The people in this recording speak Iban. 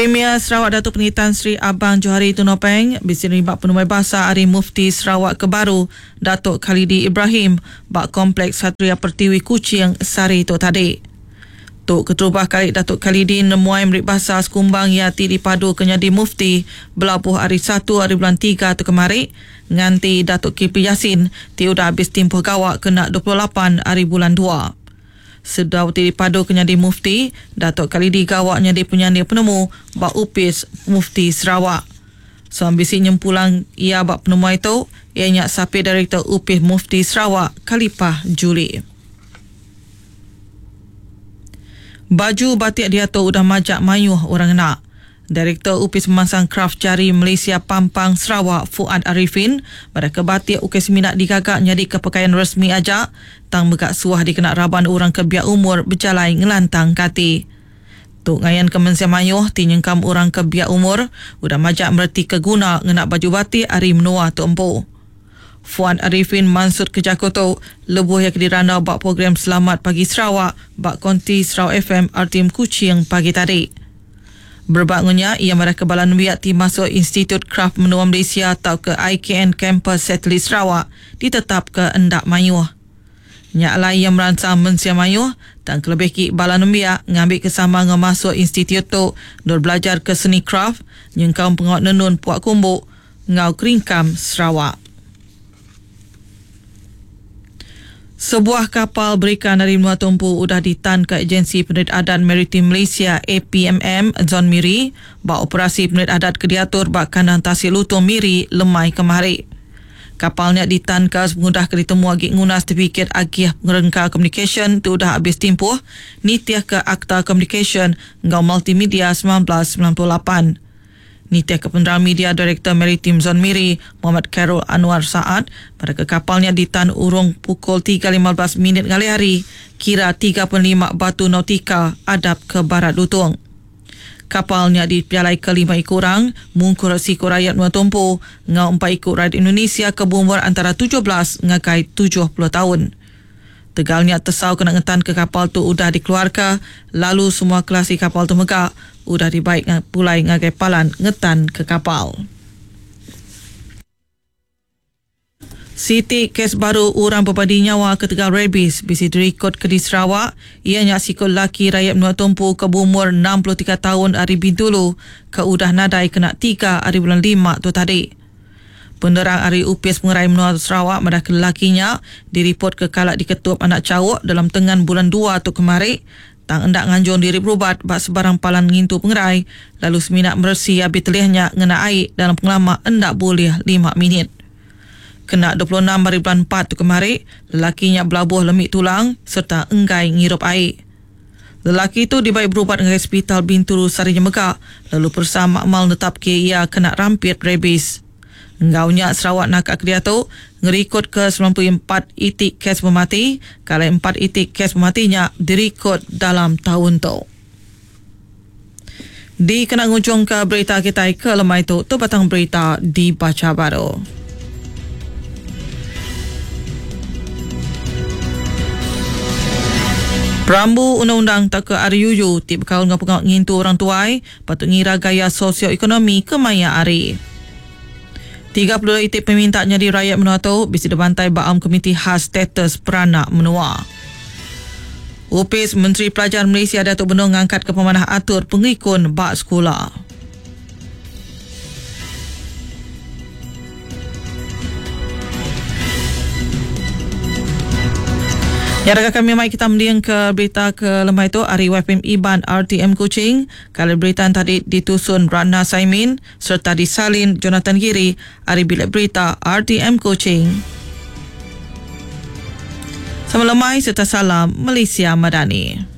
Premier Sarawak Datuk Pengi Tan Sri Abang Johari Tun Openg bisi nerima penemuai basa ari Mufti Sarawak ke baru Datuk Khalidi Ibrahim ba Kompleks Satria Pertiwi Kuching sehari tu tadi. Tu keterubah kali Datuk Khalidi nemuai meri basa sekumbang iya ti dipaduka nyadi Mufti belabuh ari satu ari bulan tiga tu kemari nganti Datuk Kipli Yassin ti udah abis timpuh gawa kena 28 ari bulan dua. Sedau ti dipadu ke nyadi Mufti, Datuk Khalidi gawa nyadi penyanding penemu ba Opis Mufti Sarawak. Sama bisi nyempulang iya ba penemuai tu iya nya Sapit Direktor Opis Mufti Sarawak Khalipah Juli. Baju batik diatu udah majak mayuh orang ngena. Direktor Opis Pemansang Kraf Jari Malaysia Pampang Sarawak Fuad Ariffin madahka batik ukai semina digaga nyadika pekayan resmi aja tang mega suah dikena raban orang ke biak umur bejalai ngelantangka ati. Tu ngayanka mensia mayuh ti nyengkaum orang ke biak umur udah majak meretika guna ngena baju batik ari menua tu empu. Fuad Ariffin mansutka jaku tu lebuh iya ke dirandau ba program Selamat Pagi Sarawak ba Konti Sarawak FM RTM Kuching pagi tadi. Berebak enggau nya, iya madahka bala nembiak ti masuk Institut Kraf Menua Malaysia tauka IKN Kampus Satelit Sarawak ditetapka enda mayuh. Nya alai iya meransang mensia mayuh tang kelebih agi bala nembiak ngambika sama enggau masuk institut tu endur belajarka seni kraf nyengkaum pengawa nenun pua kumbu enggau keringkam Sarawak. Sebuah kapal berikan ari menua tu empu udah ditanka Ejensi Penerit Adat Maritim Malaysia, APMM, Zon Miri ba operasi penerit adat ke diatur ba kandang Tasik Lutong Miri lemai kemari. Kapal nya ditanka sepengudah ke ditemu agi nguna setipikit agih pengerengka komunikasyen ti udah abis timpuh nitihka Akta Komunikasyen enggau Multimedia 1998. Nitihka penerang media Direktor Maritim Zon Miri, Mohamad Khairul Anuar Saad, madahka kapal nya ditan urung pukul 3.15 minit ngalih hari, kira 35 batu nautika adap ke barat Lutong. Kapal nya dipejalaika lima iku orang, mungkur siku rayat menua Tumpu enggau empat iku rayat Indonesia ke beumur antara 17 ngagai 70 taun. Tegal nya tesau kena ngetanka kapal tu udah dikeluarka lalu semua kelasi kapal tu mega udah dibai pulai ngagai palan ngetanka kapal. Siti kes baru orang bebadi nyawa ketegal rabies bisi dirikodka di Sarawak iya nya siku lelaki rayat menua Tumpu ke beumur 63 taun ari Bintulu ke udah nadai kena tiga ari bulan lima tu tadi. Penerang ari Opis Pengerai Menua Sarawak madahka lelaki nya diripotka kala diketup anak chauk dalam tengan bulan dua tu kemari tang enda nganjung diri berubat ba sebarang palan ngintu pengerai lalu semina meresi abi telih nya ngena ai dalam pengelama enda bulih lima minit. Kena 26 hari bulan empat tu kemari, lelaki nya belabuh lemi tulang sereta enggai ngirup ai. Lelaki tu dibai berubat ngagai Sepital Bintulu sehari nya mega lalu peresa makmal netapka iya kena rampit rabies. Enggau nya Sarawak naka ke diatu ngerikodka 94 iti kes pemati ke alai empat iti kes pemati nya dirikod dalam taun tu. Dikena ngujungka berita kitai ke lemai tu, tu batang berita dibacha baru. Perambu undang-undang tauka RUU ti bekaul enggau pengawa ngintu orang tuai patut ngira gaya sosioekonomi kemaya hari. 32 iti peminta nyadi rayat menua tu bisi dibantai ba Aum Komiti Khas Status Peranak Menua. Opis Menteri Pelajar Malaysia diatu benung ngangkatka pemanah atur pengelikun ba sekula. Ya raga kami mai kita mending ke berita ke lemai tu ari YPM Iban RTM Kuching. Kali berita tadi ditusun Ratna Saimin sereta disalin Jonathan Giri ari Bilik Berita RTM Kuching. Sama lemai sereta salam Malaysia Madani.